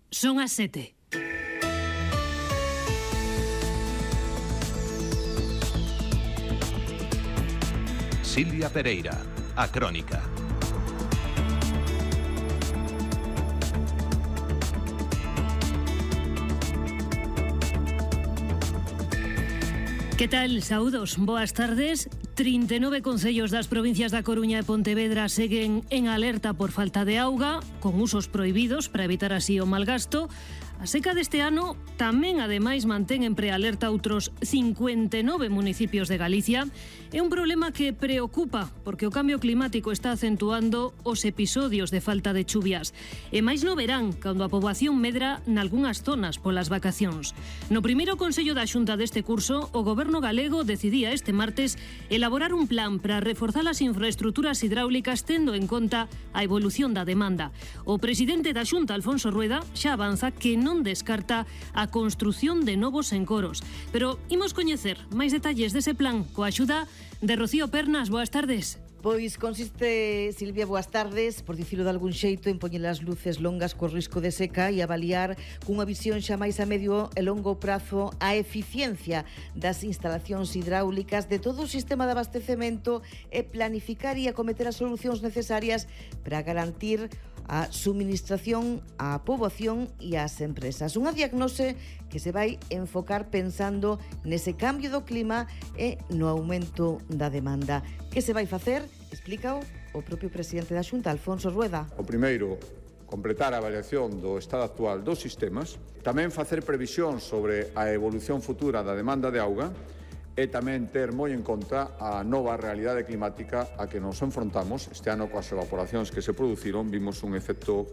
Son as 7. Silvia Pereira, a Crónica. Que tal? Saúdos, boas tardes. 39 concellos das provincias da Coruña e Pontevedra seguen en alerta por falta de auga, con usos prohibidos para evitar así o malgasto. A seca deste ano tamén, ademais, mantén en prealerta outros 59 municipios de Galicia. É un problema que preocupa, porque o cambio climático está acentuando os episodios de falta de chuvias. E máis no verán, cando a poboación medra nalgunhas zonas polas vacacións. No primeiro Consello da Xunta deste curso, o Goberno galego decidía este martes elaborar un plan para reforzar as infraestructuras hidráulicas tendo en conta a evolución da demanda. O presidente da Xunta, Alfonso Rueda, xa avanza que non descarta a construción de novos encoros. Pero imos coñecer máis detalles dese plan coa axuda de Rocío Pernas. Boas tardes. Pois consiste, Silvia, boas tardes, por dicilo de algún xeito, en poñer as luces longas co risco de seca e avaliar cunha visión xa máis a medio e longo prazo a eficiencia das instalacións hidráulicas de todo o sistema de abastecemento e planificar e acometer as solucións necesarias para garantir a suministración á poboación e ás empresas. Unha diagnose que se vai enfocar pensando nese cambio do clima e no aumento da demanda. Que se vai facer? Explícao o propio presidente da Xunta, Alfonso Rueda. O primeiro, completar a avaliación do estado actual dos sistemas, tamén facer previsión sobre a evolución futura da demanda de auga e tamén ter moi en conta a nova realidade climática a que nos enfrontamos. Este ano, coas evaporacións que se produciron, vimos un efecto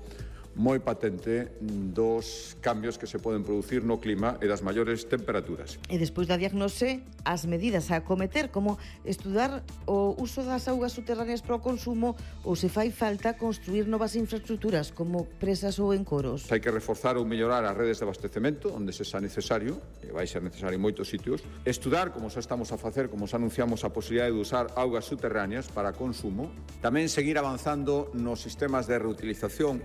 moi patente dos cambios que se poden producir no clima e das maiores temperaturas. E despois da diagnose, as medidas a acometer, como estudar o uso das augas subterráneas para o consumo ou se fai falta construir novas infraestructuras como presas ou encoros. Hai que reforzar ou mellorar as redes de abastecemento onde se xa necesario, e vai ser necesario en moitos sitios. Estudar, como xa estamos a facer, como xa anunciamos, a posibilidade de usar augas subterráneas para consumo. Tamén seguir avanzando nos sistemas de reutilización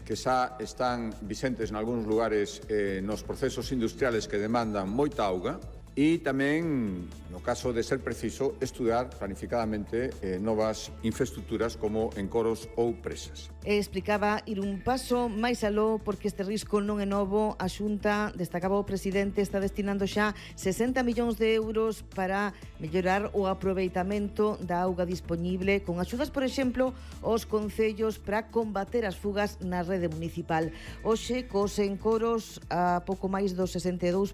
que xa están vixentes en algúns lugares nos procesos industriales que demandan moita auga e tamén, no caso de ser preciso, estudar planificadamente novas infraestructuras como encoros ou presas. Explicaba ir un paso máis aló porque este risco non é novo. A Xunta, destacaba o presidente, está destinando xa 60 millóns de euros para mellorar o aproveitamento da auga dispoñible con axudas, por exemplo, aos concellos para combater as fugas na rede municipal. Hoxe, cos encoros a pouco máis do 62%,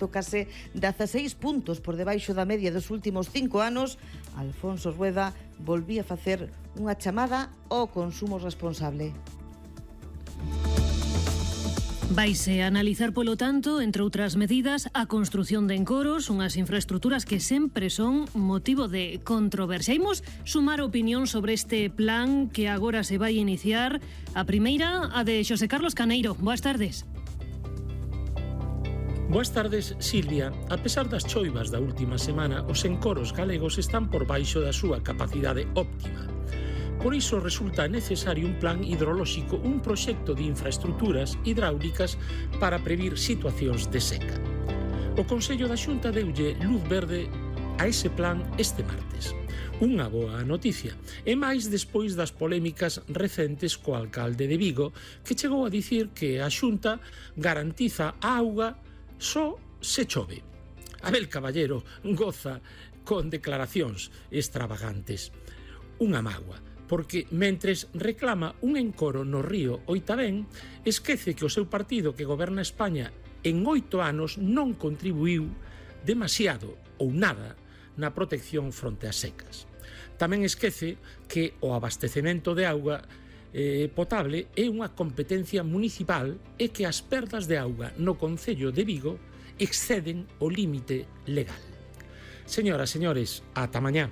case 16 puntos por debaixo da media dos últimos 5 anos, Alfonso Rueda volvía a facer unha chamada ao consumo responsable. Vaise analizar, polo tanto, entre outras medidas, a construción de encoros, unhas infraestructuras que sempre son motivo de controversia. Imos sumar opinión sobre este plan que agora se vai iniciar. A primeira, a de Xosé Carlos Caneiro. Boas tardes. Boas tardes, Silvia. A pesar das choivas da última semana, os encoros galegos están por baixo da súa capacidade óptima. Por iso resulta necesario un plan hidrolóxico, un proxecto de infraestructuras hidráulicas para previr situacións de seca. O Consello da Xunta deulle luz verde a ese plan este martes. Unha boa noticia, e máis despois das polémicas recentes co alcalde de Vigo, que chegou a dicir que a Xunta garantiza a auga só se chove. Abel Caballero goza con declaracións extravagantes. Unha mágoa, porque mentres reclama un encoro no río Oitabén, esquece que o seu partido que goberna España en 8 anos non contribuiu demasiado ou nada na protección fronte ás secas. Tamén esquece que o abastecemento de auga potable é unha competencia municipal e que as perdas de auga no concello de Vigo exceden o límite legal. Señoras, señores, ata mañá.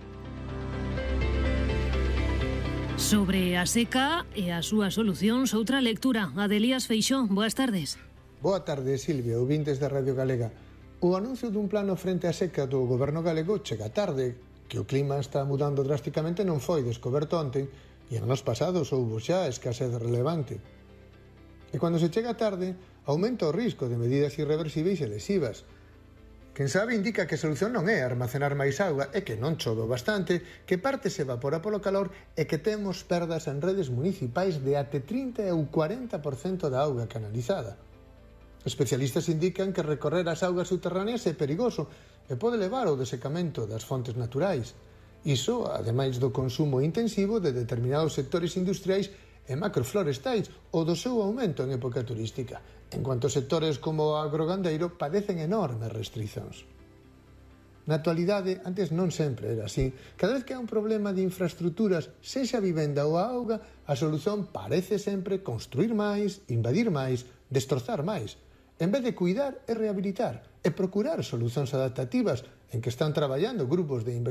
Sobre a seca e as súas solucións, outra lectura. A de Elías Feixóo. Boas tardes. Boa tarde, Silvia, ouvintes da Radio Galega. O anuncio dun plano frente á seca do goberno galego chega tarde, que o clima está mudando drásticamente non foi descoberto onte, e en anos pasados houbo xa escasez relevante. E cando se chega tarde, aumenta o risco de medidas irreversibles e lesivas. Quen sabe indica que a solución non é almacenar máis auga, é que non chove bastante, que parte se evapora polo calor e que temos perdas en redes municipais de até 30 ou 40% da auga canalizada. Especialistas indican que recorrer as augas subterráneas é perigoso e pode levar ao desecamento das fontes naturais. Iso, ademais do consumo intensivo de determinados sectores industriais e macroflorestais ou do seu aumento en época turística, en cuanto sectores como o agrogandeiro padecen enormes restricións. Na actualidade, antes non sempre era así. Cada vez que hai un problema de infraestructuras, sexa a vivenda ou a auga, a solución parece sempre construir máis, invadir máis, destrozar máis, en vez de cuidar e rehabilitar e procurar solucións adaptativas en que están traballando grupos de investigación